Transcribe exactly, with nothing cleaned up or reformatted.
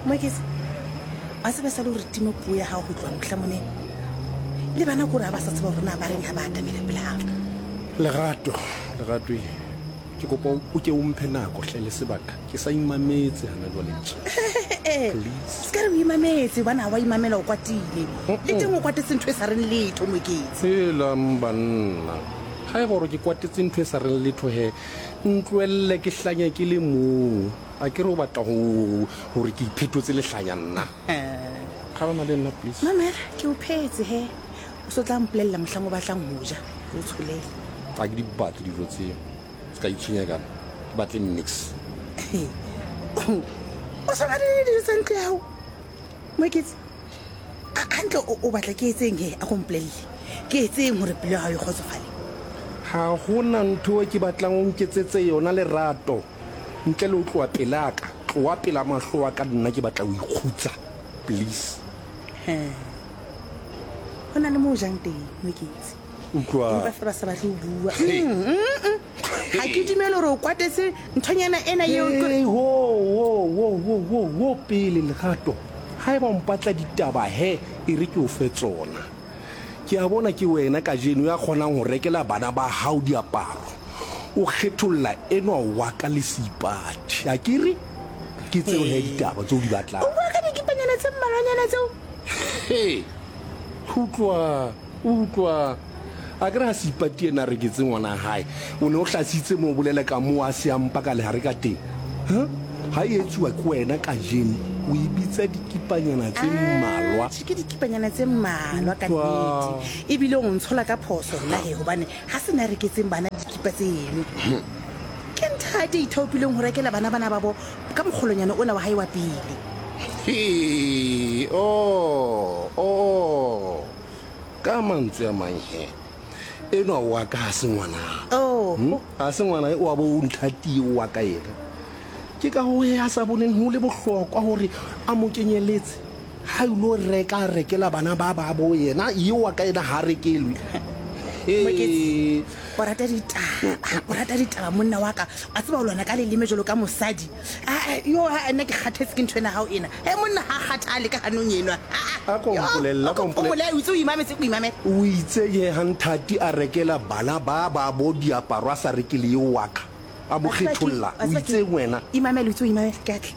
Moeketsi, wa tseba sa le hore tima puo ya hao ho tloha mohla monene. Le bana kore ha ba sa tseba hore na ba reng ha ba atamela pele hao. Lerato, Lerato e. Ke kopa o ke o mphe nako hle le sebaka. Ke sa imametse hana jwale tje. Please. Se ka re o imametse hobane ha wa imamela o kwatile. Le teng o kwatetse ntho e sa reng letho Moeketsi. Helang banna. Ha eba hore ke kwatetse ntho e sa reng letho he, ntlohelle ke hlanye ke le mong. A ke re o batla ho hore ke iphetotse lehlanya nna. Kgaolana le nna please. Mamela, ke o phetse he. O so tla mpolella mohlang o batlang ho ja, ke o tsholele. Ha ke di batle dijo tseo. Se ka itshwenya ka nna. Ke batle niks. O sa batle dijo tsa ntlo ya hao? Moeketsi, hantle o batla ke etseng he? A ko mpolelle. Ke etseng hore pelo ya hao e kgotsofale? Ha hona ntho e ke batlang o nketsetse yona Lerato. Ntle le ho tloha pelaka. Tloha pela mahlo a ka nna ke batla ho ikgutsa. Please. He. Ho na le moo jang teng, Moeketsi. Utlwa. Empa feela ba sa batle ho bua. Mm, mm, mm. Ha ke dumele hore o kwatetse nthonyana ena eo. Hey, ho, ho, ho, ho, ho, ho pele Lerato. Haeba o mpatla ditaba he, e re ke o fe tsona. Ke a bona ke wena kajeno ya kgonang ho rekela bana ba hao diaparo. O kgetholla enwa wa ka le Seipati. A ke re? Ke tseo he ditaba tseo di batlang. O bua ka dikipanyana tse mmalwanyana tseo? He. Utlwa, utlwa. A ke re ha Seipati ena a reketse ngwana hae, o ne o hlasitse moo o bolela ka moo a se a mpa ka lehare ka teng. Ha? Ha e etsuwa ke wena kajeno, o e bitsa dikipanyana tse mmalwa. Atjhe, ke dikipanyana tse mmalwa ka nnete. Ebile o ntshola ka phoso nna he, hobane ha se nna reketseng bana dikipa tseno. Ke ntate ithaopileng ho rekela bana bana babo ka mokgolonyana ona wa hae wa pele. He, oh, oh. Ka mantswe a mang he, enwa wa ka ha se ngwana. Oh. Hmm? Ha se ngwana o wa bo nthati wa ka yena. Ke ka ho he a sa boneng ho le bohlokwa hore a mo kenyeletse. Ha ilo reka rekela bana ba ba bo yena, eo wa ka yena ha rekelwe. Moeketsi, o rata ditaba, o rata ditaba monna wa ka. A tseba ho lwana ka leleme jwalo ka mosadi. Ah, yo ha nna ke kgathetse ke ntho ena hao ena. He monna ha kgathale ka hanong enwa. A ko mpolelle, a ko mpolelle. O itse o imametse, o imamele. O itse ke ha nthati a rekela bana ba ba bo diaparo a sa rekele eo wa ka. A mo kgetholla. O itse wena. Imamele, o itse o imamele, ke a tla.